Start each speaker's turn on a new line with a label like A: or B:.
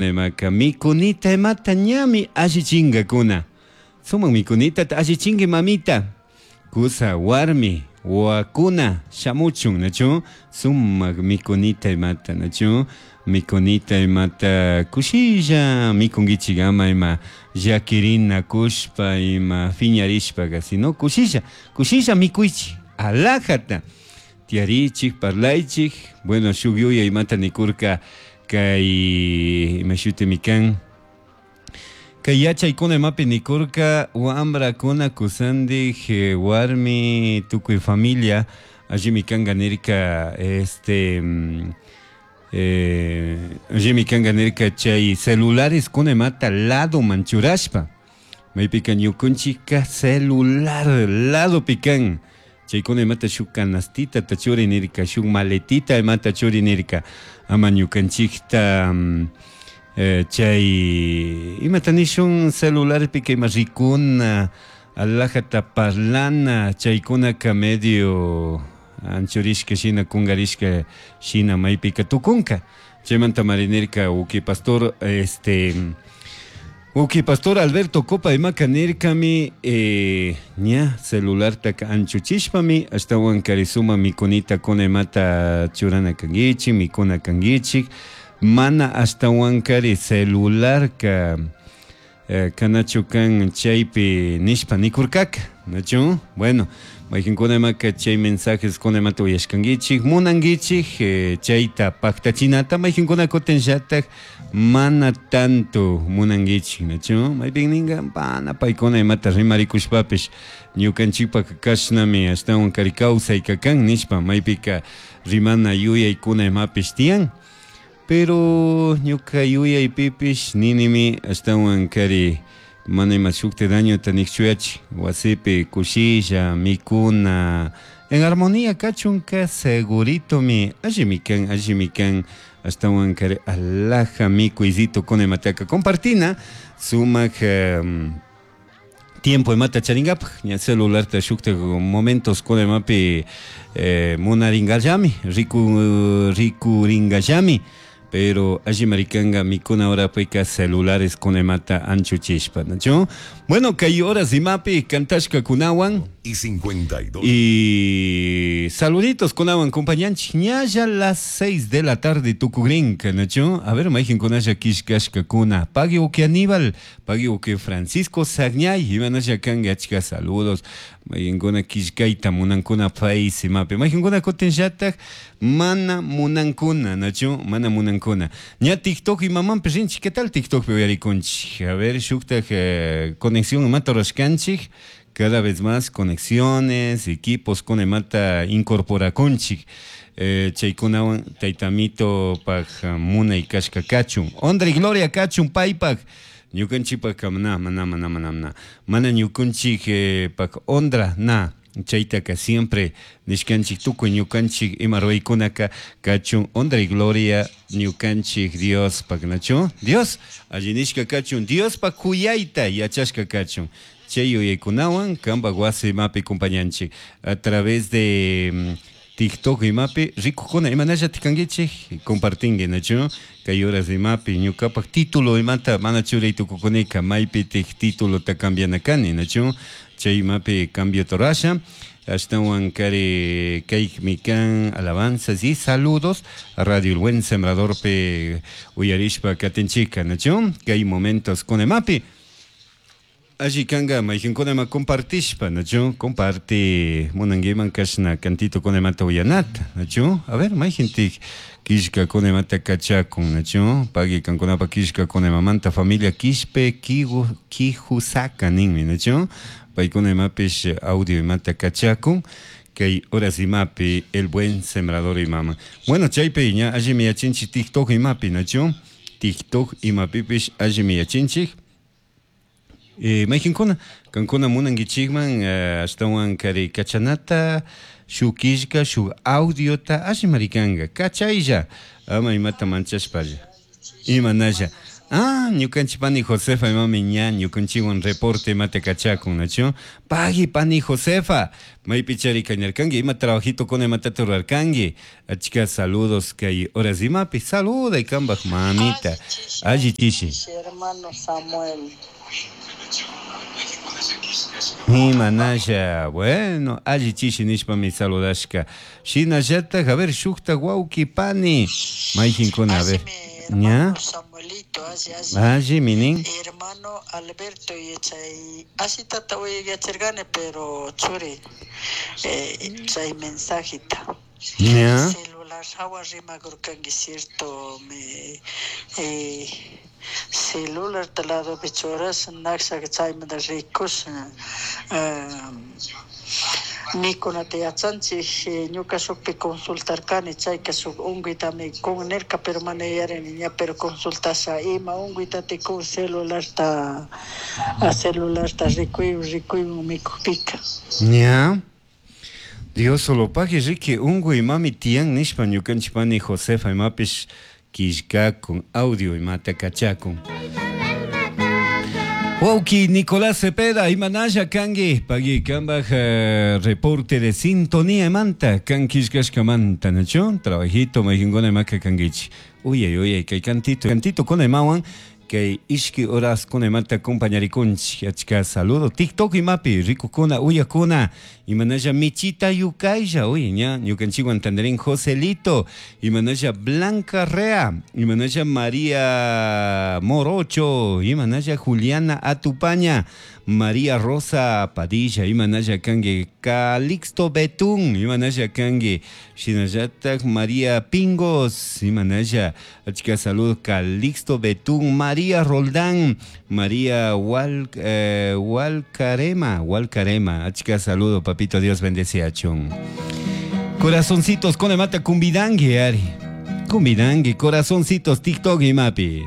A: Imaka mikunita imata ñami allichingakuna. Sumak mikunitata allichinki mamita. Kusa warmi wakuna shamuchun nachu sumak mikunita imata nachu mikunita imata kushilla mikunkichik ama ima llakirina kushpa ima fiñarishpaka sino kushilla kushilla mikuychik alajata tiyarichik parlaychik bueno shuk yuyay imata nikurka kay ima shutimi kan kay yachaykuna imapi nikurka wambrakuna kusandik warmi tukuy familia allimi kanka nirka este allimi kanka nirka chay celulares kuna imata ladoman churashpa maypika ñukunchikka celular ladopi kan chaykuna imata shuk canastitata churi nirka shuk maletita imata churi nirka ama ñukanchikta chay imata nishun celularpika ima rikuna alajata parlana chaykunaka medio anchurishka shina kungarishka shina maypika tukunka chaymanta mari nirka uki pastor este uki pastor Alberto Copa imaka nirkami ña celulartaka anchuchishpami ashtawan kari suma mikunita kuna imata churana kankichik mikuna kankichik mana ashtawan kari celularka kanachu kan chaypi nishpa nikurkaka nachu bueno mayqinkuna imaka chay mensajes kuna imata uyashkankichik munankichik chayta paktachinata mayqinkuna kutinllatak mana tanto munankichik nachu maypin ninka mana paykuna imata rimarikushpapish ñukanchikpak kashnami ashtawan kari kawsayka kan nishpa maypika rimana yuyaykuna imapish tiyan pero ñuka yuyaypipish ninimi ashtawan kari mana ima shukti dañota nikchuyachik wasipi kushilla mikuna en armonía kachunka seguritomi allimi kan allimi kan ashtawan kari alaja mikuysito kuna imataka compartina sumak tiempo imata charinkapak ña celularta shuktak momentos kuna imapi munaringallami riku rikuringallami pero alli marikanga mikuna horapika celulares kuna imata anchuchishpa nachu bueno kay horas imapi kantashkakunawan
B: Y 52.
A: y saluditos kunawan compañanchik ñalla las 6 de la tarde tukugrinka nachu a ver mayqinkunalla killkashkakuna pagui uki Aníbal pagui uki Francisco Sagñay imanalla kanka achka saludos mayqinkuna killkayta munankuna Face imapi mayqinkuna kutinllatak mana munankuna nachu mana munankuna ña TikTok imamanpish rinchik ¿qué tal TikTokpi uyarikunchik? A ver shuktak conexión imata rurashkanchik cada vez más conexiones, equipos con imata incorporakunchik chaykunawan taytamito paj munay kashka kachun Ondra y Gloria kachun paypak ñukanchikpak mana mana mana mana mana mana ñukanchik pak Ondra na chaytaka siempre nishkanchik tukuy ñukanchik ima ruraykunaka kachun Ondra y Gloria ñukanchik Diospak nachu Dios alli nishka kachun Diospak kuyayta yachashka kachun chay yuyaykunawan kanpak wasi imapi compañanchik a través de TikTok imapi rikukuna imanallatik kankichik compartinki nachu kay horas imapi ñukapak título imata mana churay tukukunika maypitik titulota cambiana kani nachu chay imapi cambio rurasha ashtawan kari kaymi kan alabanzas y saludos Radio El Buen Sembradorpi uyarishpa katinchika nachu kay momentos con imapi alli kanka mayqinkuna ima compartishpa nachu comparte munankiman kashna cantito kuna imata uyanata nachu a ver mayqintik killkakuna imata kachakun nachu pagui kankunapak killkakuna imamanta familia Quispe Quijusaka ninmi nachu paykuna imapish audio imata kachakun kay horas imapi El Buen Sembrador imama bueno chaypi ña allimi yachinchik TikTok imapi nachu TikTok imapipish allimi yachinchik mayqinkuna kankuna munankichikman ashtawan kari kachanata shuk killka shuk audiota allimari kanka kachaylla ama imata manchashpalla imanalla Ah, ñukanchik pani Josefa imami ña ñukanchikwan reporte imata kachakun, nachu? Pagui pani Josefa, maypi chari kañarkanki, ima trabajito kuna imatata rurarkanki. Achka saludos kay horas imapi, saluday kambaj mamita. Alli chishi.
B: Hermano Samuel.
A: Imanasha, bueno, alli chishi nishpami saludashka. Shinallataj, a ver, shukta wawki pani, mayjinkuna, a ver.
B: Ña? Samuelito, alli, alli.
A: Alli, minin.
B: Hermano Alberto, chay ashitata uyachargani, pero churi, chay mensajita.
A: Ña?
B: Celular hawa rimakurkanki, cierto, me celular ladopi churas, naksha chaymanta rikus, mikunata yachanchik, ñuka shukpi consultarkani, chayka shuk unkuytami kun nirka, pero mana yuyarini ña, pero consultasha ima unkuytati kun celularta, celularta rikuy rikuywan mikukpika.
A: Ña. Dios solo pagui riki unkuy imami tiyan nishpa ñukanchik pani Josefa imapish killkakun audio imata kachakun. Wawki Nicolás Cepeda, imanalla kanki, pagui kambaj reporte de sintonía imanta, kan killkashkamanta, nachu? Trabajito mayjinkuna imaka kankichik. Uyay, uyay, kay cantito, cantito kuna imawan, kay ishki horas kuna imata acompañarikunchik, achka saludo, TikTok imapi, rikukuna, uyakuna, imanalla michita yukaylla, uy, ña, ñukanchikwan tandarín Joselito, imanalla Blanca Rea, imanalla María Morocho, imanalla Juliana Atupaña, María Rosa Padilla, imanalla kanki Calixto Betún, imanalla kanki shinallatak María Pingos, imanalla, achka salud Calixto Betún, María Roldán, María Walcarema, Walcarema, achka saludo, papito Dios bendice a chun. Corazoncitos con mata cumbidangue, Ari. Cumbidangue, corazoncitos, TikTok y mapi.